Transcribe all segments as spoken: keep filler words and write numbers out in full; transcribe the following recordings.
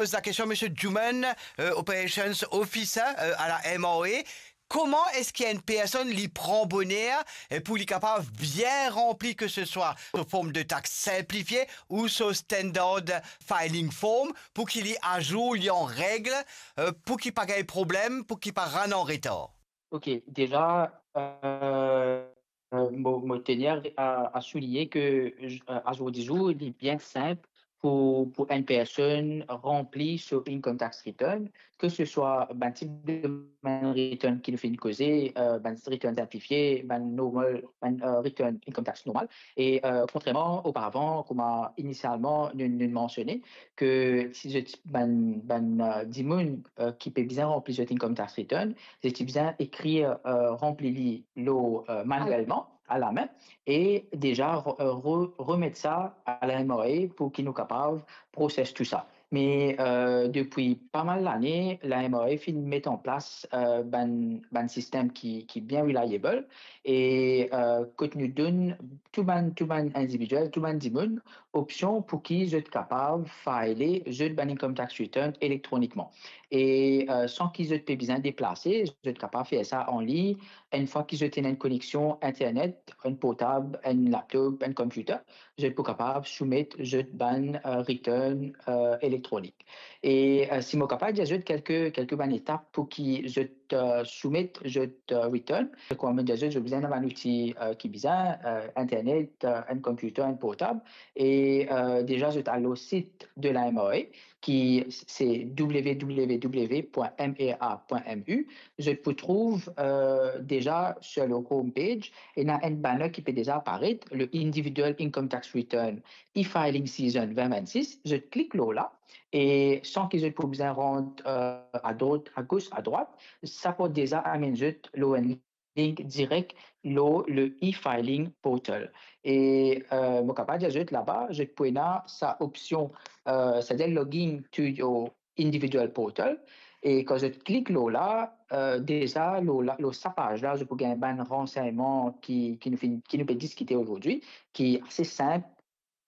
poz lakestion, Misie Juman, euh, Operations Officer, euh, à la M R A. Kouma eski enn personn li pran boner, euh, pou li kapav bien ranpli, ke se swa so form de tax sinplifie ou so standard filing form, pou ki li azour, li an reg, euh, pou ki pa gagn problem, pou ki pa rann an retar? Ok, déjà, euh, euh, mo, mo tenir à, à souligner que, euh, azourdizour, li bien sinp pou, pou enn personn ranpli so income tax return, ke se swa bann tip de bann return ki nou finn koze, euh, bann return sinplifie, bann normal, bann, euh, return income tax normal. E, euh, kontrerman oparavan, kouma inisialman nou, nou mansione, ke si zot bann, bann, euh, dimoun, euh, ki pe bizin ranpli zot income tax return, zot ti bizin ekrir, euh, ranpli li lor, euh, manuelman, à la main, e déjà re-, euh, re-, remet sa à la M R A pou ki nou kapav process tou sa. Me, euh, depi pa mal lane, la M R A finn met an plas, euh, bann, bann sistem ki, ki bien reliable, e, euh, kot nou donn tou bann, tou bann individiel, tou bann dimoun, opsion pou ki zot kapav file zot bann income tax return elektronikman. E, euh, san ki zot pe bizin deplase, zot kapav fer sa an lign, enn fwa ki zot ena enn koneksion internet, enn portab, enn laptop, enn computer, zot pou kapav soumet zot bann, euh, return, euh, elektronik. E, euh, si mo kapav dir zot kelke, kelke bann etap pou ki zot, euh, soumet zot, euh, return, kouma mo dir zot, zot bizin ena bann outi, euh, ki bizin, euh, internet, euh, enn computer, enn portab, e, euh, déjà zot al lor sit de la M R A, ki se w w w point m r a point m u. Zot pou trouv, euh, déjà sur le home page, ena enn banner ki pe déjà aparet, le Individual Income Tax Return e-Filing Season vingt vingt-six. Zot klik lor la, e san ki zot pou bizin rant, euh, adrot, agos, adrwat, sa pou déjà amenn zot lor enn link direk lor le e-filing portal. E, euh, mo kapav dir zot laba, zot pou ena sa opsion, euh, setadir logging to your individual portal. E kan zot klik lor la, euh, déjà lor la, lor sa paz la, zot pou gagn bann ransegnman ki, ki nou finn, ki nou pe diskite azordi, ki ase sinp,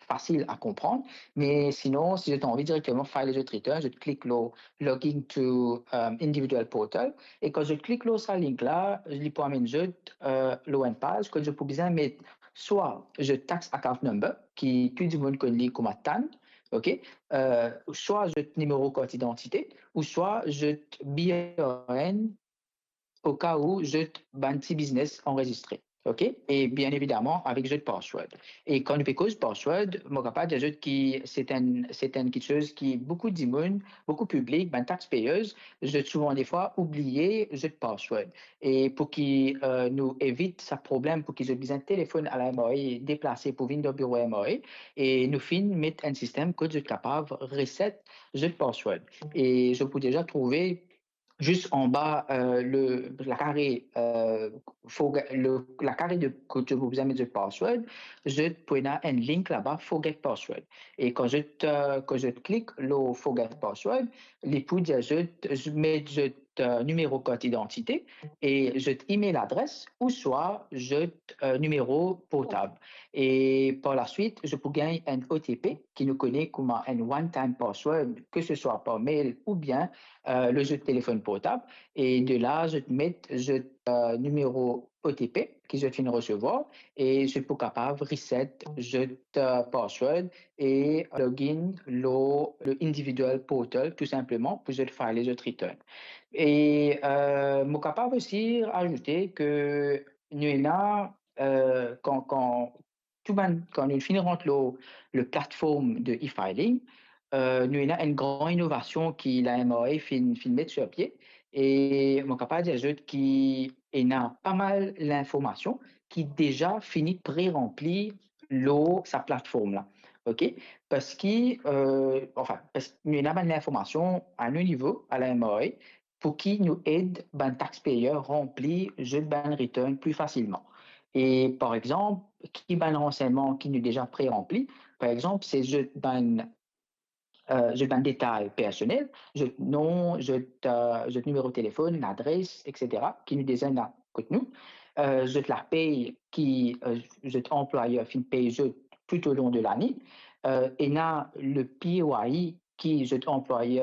fasil a konpran. Me sinon, si zot anvi direkteman file zot return, zot klik lor logging to, um, individual portal. E kan zot klik lor sa link la, li pou amenn zot, euh, lor enn paz kot zot pou bizin met swa zot tax account number, ki tou dimoun konn li kouma TAN, ok? Euh, swa zot nimero kart idantite, ou swa zot B R N, au cas où zot bann ti biznes anrezistre. Ok? E bien evidaman, avek zot password. E kan nou pe koz password, mo kapav dir zot ki se enn, se enn kiksoz ki boukou dimoun, boukou piblik, bann taxpayers, zot souvan defwa oubliye zot password. E pou ki, euh, nou evit sa problem, pou ki zot bizin telefonn a la M R A, deplase pou vinn dan biro M R A, e nou finn met enn sistem kot zot kapav reset zot password. E zot pou déjà trouve zis anba, euh, le, lakare, euh, forget, le, lakare de, kot zot pou bizin met zot password, zot pou ena enn link laba, Forget Password. E kan zot, euh, kan zot klik lor Forget Password, li pou dir zot, zot met zot, euh, nimero kart idantite e zot email adres, ouswa zot, euh, nimero portab. E par laswit, zot pou gagn enn O T P ki nou kone kouma enn one-time password, ke se swa par mail oubien, euh, lor zot telefonn portab. E de la, zot met zot, euh, nimero O T P ki zot finn resevwar e zot pou kapav reset zot, euh, password e login lor le individual portal tou sinpleman pou zot file zot return. E, euh, mo kapav osi azoute ke nou ena, euh, kan, kan tou bann, kan nou finn rant lor le platform de e-filing, euh, nou ena enn gran inovasion ki la M R A finn, finn met sir pie. E mo kapav dir zot ki ena pa mal linformasion ki déjà fini pre-ranpli lor sa platform la. Ok? Parski, euh, anfin, parski nou ena bann linformasion a nou nivo, a la M R A, pou ki nou ed bann taxpayer ranpli zot bann return pli fasilman. E par exanp, ki bann ransegnman ki nou déjà pre-ranpli, par exanp, se zot bann, euh, zot bann detay personel, zot non, zot, euh, zot nimero telefonn, ladres, et cetera, ki nou déjà ena kot nou, euh, zot lapey ki, euh, zot anplwayer finn pey zot toutolong de lane, euh, ena le P A Y E ki zot anplwayer